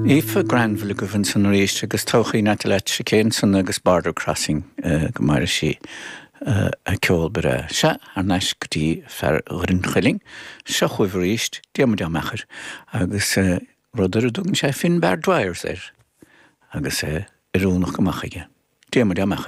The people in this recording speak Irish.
Aoife Granville agaibh ansan arís agus todhchaí Natalie ansan agus Border Crossing go maire sí a ceol breá. Sea, thar n-ais go dtí fear Dhoire an Chuilinn. Seo chugaibh arís Diarmuid Ó Meachair agus rud ar a dtugann sé Finbar Dwyers air agus é oiriúnach go maith chuige. Diarmuid Ó Meachair.